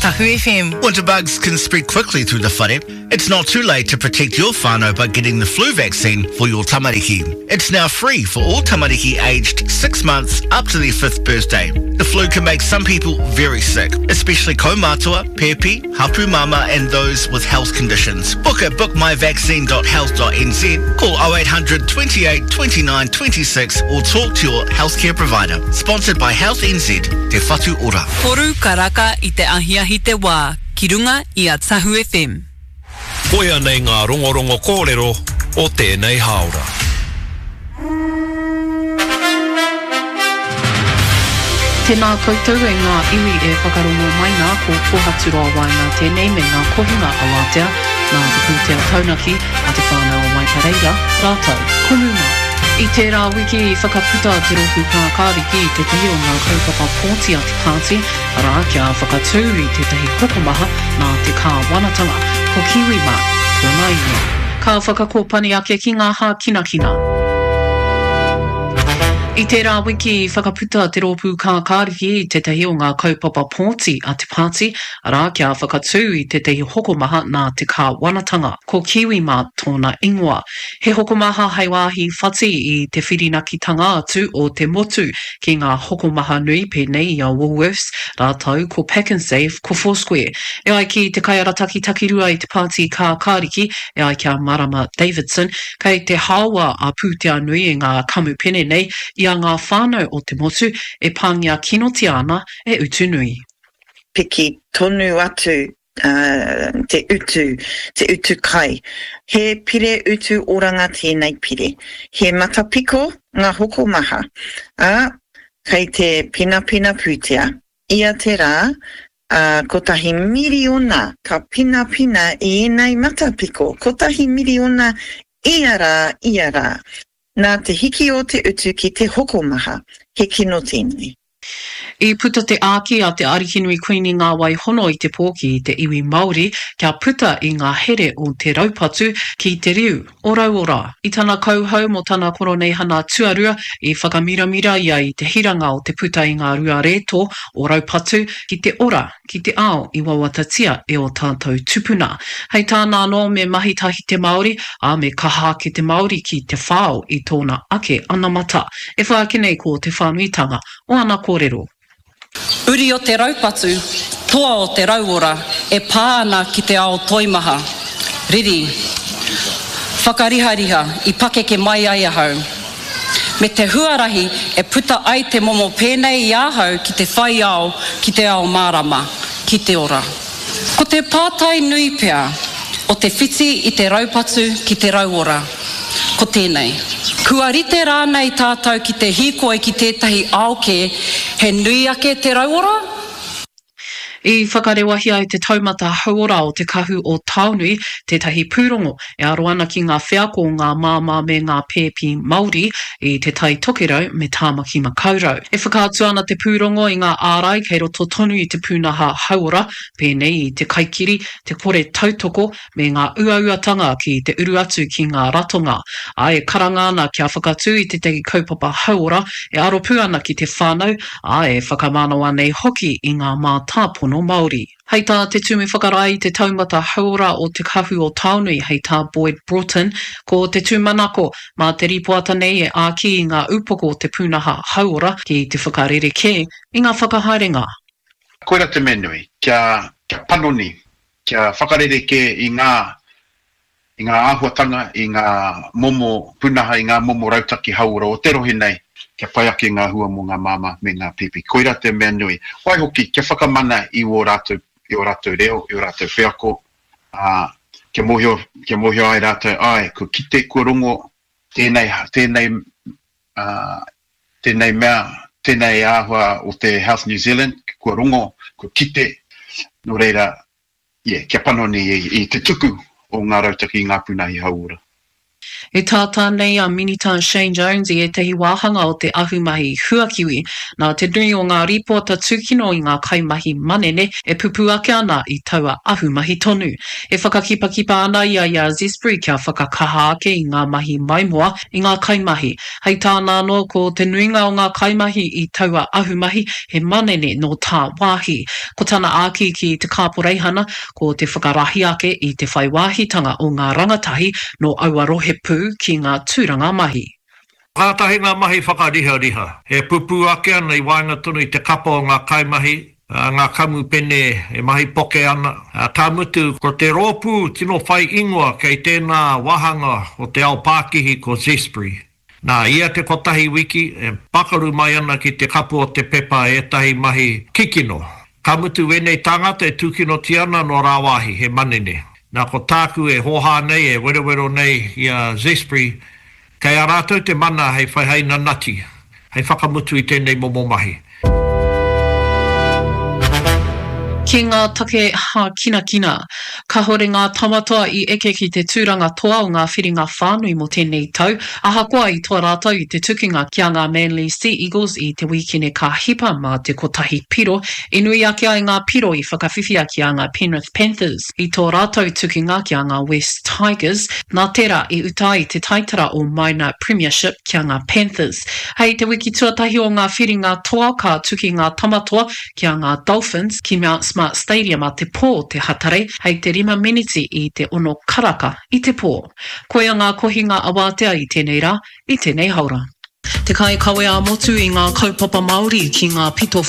Tahu FM. Winter bugs can spread quickly through the whare. It's not too late to protect your whānau by getting the flu vaccine for your tamariki. It's now free for all tamariki aged 6 months up to their 5th birthday. The flu can make some people very sick, especially kaumātua, pēpi, hapu mama and those with health conditions. Book at bookmyvaccine.health.nz, call 0800 28 29 26 or talk to your healthcare provider. Sponsored by Health NZ, Te Whatu Ora. Toru karaka i te ahiahi te wā ki runga i a Tahu FM. Koia nei ngā rongorongo kōrero o tēnei hāora. Tēnā koutou e ngā iwi e whakarongo mai nā, ko Kōhaturoa Waenga tēnei me ngā kohinga awatea nā te pūtea taunaki a Te Whānau o Waipareira rātou ko Muma. I tērā wiki i whakaputa te Rōpū Kākāriki i tētahi o ngā kaupapa pōti a te pāti, arā, kia whakatū i tētahi hokomaha nā te kāwanatanga, ko Kiwi Mart tōna ingoa. Ka whakakōpani ake ki ngā hākinakina. I tērā wiki i whakaputa te Rōpū Kākāriki i tētahi o ngā kaupapa pōti a te pāti, arā, kia whakatū i tētahi hokomaha nā te kāwanatanga, ko Kiwi Mart tōna ingoa. He hokomaha hei wāhi whati i te whirinakitanga atu o te motu ki ngā hokomaha nui pēnei i a Woolworths rātou ko Pak'nSave, ko Four Square. E ai ki te kaiarataki takirua i te Pāti Kākāriki, e ai ki a Marama Davidson, kei te haoa a pūtea nui e ngā kamupene nei i a ngā whānau o te motu e pāngia kinotia ana e utu nui. Piki tonu atu te utu, te utu kai. He pire utu oranga tēnei pire. He matapiko ngā hokomaha, ā, kei te pinapina pūtea. Ia te rā, ā, kotahi miriona ka pinapina i ēnei matapiko, kotahi miriona ia rā, ia rā. Nā te hiki o te utu ki te hokomaha, he kino tēnei. I puta te āki a te Arikinui Kuini Ngā Wai Hono i te pō ki te iwi Māori kia puta i ngā here o te raupatu ki te riu o Rauora. I tana kauhau mō tana koroneihana tuarua, i whakamiramira ia i te hiranga o te puta i ngā rua rētō o raupatu ki te ora, ki te ao i wawatatia e ō tātou tupuna. Hei tāna anō me mahi tahi te Māori, ā, me kaha ake te Māori ki te whao i tōna ake anamata. E whai ake nei ko te whānuitanga o ana kōrero. Uri o te raupatu, toa o te rauora e pā ana ki te ao toimaha, riri, whakarihariha i pakeke mai ai ahau. Me te huarahi e puta ai te momo pēnei i ahau ki te whai ao, ki te ao mārama, ki te ora. Ko te pātai nui pea o te whiti i te raupatu ki te rauora, ko tēnei. Kua rite rānei tātou ki te hīkoi ki tētahi ao kē he nui ake te rauora? I whakarewahia e te Taumata Hauora o Te Kahu o Taonui tētahi pūrongo e aro ana ki ngā wheako o ngā māmā me ngā pēpi Māori i Te Tai Tokerau me Tāmaki Makaurau. E whakaatu ana te pūrongo i ngā ārai kei roto tonu i te pūnaha hauora, pēnei i te kaikiri, te kore tautoko me ngā uauatanga ki te uru atu ki ngā ratonga, ā, e karanga ana kia whakatū i tētahi kaupapa hauora e aro pū ana ki te whānau, ā, e whakamanawa nei hoki i ngā mātāpono Māori. Hei tā te Tumu Whakarae i te Taumata Hauora o Te Kahu o Taonui, hei tā Boyd Broughton, ko te tūmanako, mā te rīpoata nei e āki i ngā upoko o te pūnaha hauora ki te whakarerekē i ngā whakahaerenga. Koira te mea nui, kia, kia panoni, kia whakarerekē i ngā, i ngā āhuatanga, i ngā momo pūnaha, i ngā momo rautaki hauora o te rohe nei, kia pai ake ngā hua mō ngā māmā me ngā pēpi. Koirā te mea nui. Waihoki, kia whakamana i ō rātou, i ō rātou reo, i ō rātou wheako, ā, kia mōhio, kia mōhio ai rātou, āe, kua kite, kua rongo tēnei, tēnei, ā, tēnei mea, tēnei āhua o te Health New Zealand, kua rongo, kua kite, nō reira, yeah, kia panoni i te tuku o ngā rautaki i ngā pūnahi hauora. E tātā nei a Minita Shane Jones i ētahi wāhanga o te ahumahi huakiwi, nā te nui o ngā rīpoata tūkino i ngā kaimahi manene e pupū ake ana i taua ahumahi tonu. E whakakipakipa ana ia i a Zespri kia whakakaha ake i ngā mahi maimoa i ngā kaimahi. Hei tāna anō, ko te nuinga o ngā kaimahi i taua ahumahi he manene nō tāwāhi. Ko tana āki ki te kāporeihana, Ko te whakarahi ake i te whai wāhitanga o ngā rangatahi nō aua rohe pū ki ngā tūranga mahi. Kātahi ngā mahi whakarihariha e pupū ake ana i waenga tonu i te kapa o ngā kaimahi, ngā kamupene e mahi poke ana, ka mutu, ko te rōpū tino whai ingoa kei tēnā wāhanga o te ao pākihi ko Zespri. Nā, ia te kotahi wiki, e pakaru mai ana ki te kapu o te pepa ētahi mahi kikino. Ka mutu wēnei tāngata e tūkinotia ana nō rāwāhi, he manene. Nā, ko tāku e hōhā nei, e werowero nei i a Zespri, kei a rātou te mana hei whai hei nanati, hei whakamutu i tēnei momo mahi. Ki ngā take hākinakina. Kahore ngā Tamatoa i eke ki te tūranga toa o ngā whiringa whānui mō tēnei tau, ahakoa i toa rātou i te tukinga ki a ngā Manly Sea Eagles i te wīkene ka hipa mā te kotahi piro, i nui ake ai ngā piro i whakawhiwhia ki a ngā Penrith Panthers i tō rātou tukinga ki a ngā West Tigers, nā tērā i uta ai te taitara o Minor Premiership ki a ngā Panthers. Hei te wiki tuatahi o ngā whiringa toa ka tuki ngā Tamatoa ki a ngā Dolphins ki Mount Smart Stadium a te pō te Hatarei hei te rima meneti i te ono karaka i te pō. Koia ngā kohinga awātea i tēnei rā, i tēnei haora. Te kaikawe ā-motu i ngā kaupapa Māori ki ngā pito.